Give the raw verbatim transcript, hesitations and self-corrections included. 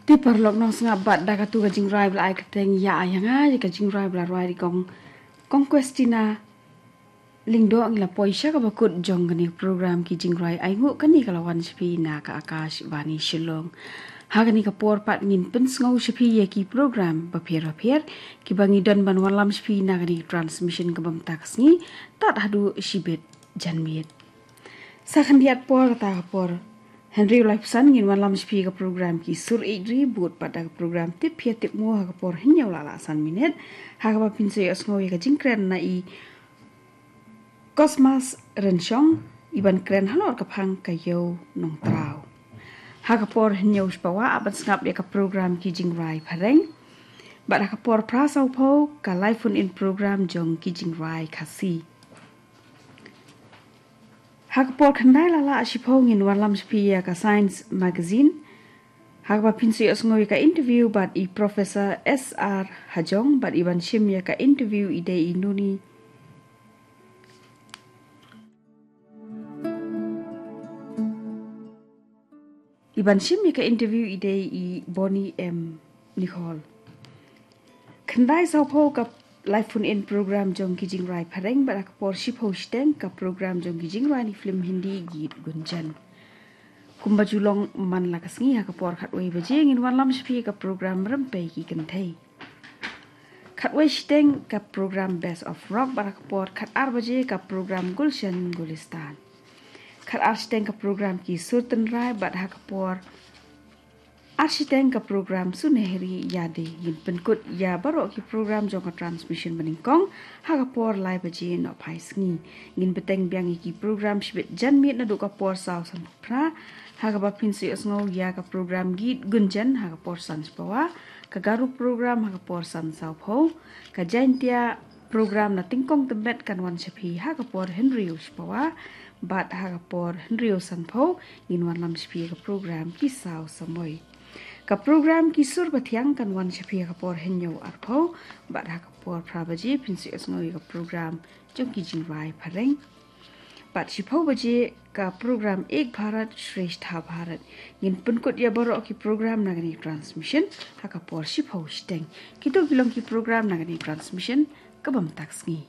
Te paralok nongsngap, bad da katu ka jingrwai ba la ai kyrteng Ïa Aiu Nga, ïa ka jingrwai ba la rwai da i Kong Kong Questina Lyngdoh, ngi la poi sha kaba kut jong kane ka program Ki Jingrwai Ainguh, kane ka la wan sha phi na ka Akashvani Shillong. Ha kane ka por pat ngin pynsngew sha phi ïa ki program bapher bapher kiba ngi don ban wanlam sha phi na kane ka transmission kaba mynta ka sngi, tad haduh shibit janmiet. Sa khyndiat por, kata ka por hynriew laiphew san, ngin wanlam sha phi ka program Ki Sur Ïeit Ri, bud pat da ka program Tip Pyrthei Tip Mo ha ka por hynñiew la lah san minit, ha kaba phin sa ïohsngew ïa ka jingkren na i Cosmas Rynshong, i ban kren halor ka phang Ka Ïew Nongtraw. Ha ka por hynñiew shiphew wah, ap ban sngap ïa ka program Ki Jingrwai Phareng. Bad ha ka por phra sawphew, ka live phone in program jong Ki Jingrwai Khasi. Ha ka por khyndai la lah shiphew, ngin wanlam sha phi ïa ka Science Magazine, ha kaba phin sa ïohsngew ïa ka interview bad i Professor S R Hajong, bad i ban shim ïa ka interview i dei i Nuni. I ban shim ïa ka interview i dei i Bonnie M Nicole. Khyndai sawphew, ka live phone in program jong Ki Jingrwai Phareng, bad ha ka por shiphew shiteng, ka program jong Ki Jingrwai na ki film Hindi Geet Gunjan. Kumba ju long man la ka sngi, ha ka por khatwei baje ngin wanlam sha phi ïa ka program Rympei Ki Kynthei. Khatwei shiteng, ka program Best of Rock, bad ha ka por khatar baje, ka program Gulshan Gulistan. Khatar shiteng, ka program Ki Sur Tynrai, bad ha ka por ar shiteng, ka program Sunehri Yaadein. Ngin pynkut ïa baroh ki program jong ka transmission banyngkong ha ka por lai baje nohphai sngi. Ngin bteng biang ïa ki program shibit janmiet naduh ka por saw sanphew phra, ha kaba phin sa ïohsngew ïa ka program Geet Gunjan ha ka por san shiphew wah, ka Garo program ha ka por san sawphew, ka Jaintia program Na Tyngkong Tymmet kan wan sha phi ha ka por hynriew shiphew wah, bad ha ka por hynriew sanphew ngin wanlam sha phi ïa ka program Ki Saw Samoi. Ka program Ki Sur Bathiang kan wan sha phi ha ka por hynñiew arphew, bad ha ka por phra baje phin sa ïohsngew ïa ka program jong Ki Jingrwai Phareng. Bad shiphew baje, ka program Ek Bharat Shreshtha Bharat. Ngin pynkut ïa baroh ki program na kane ka transmission ha ka por shiphew shiteng. Kito ki long ki program na kane ka transmission kaba mynta ka sngi.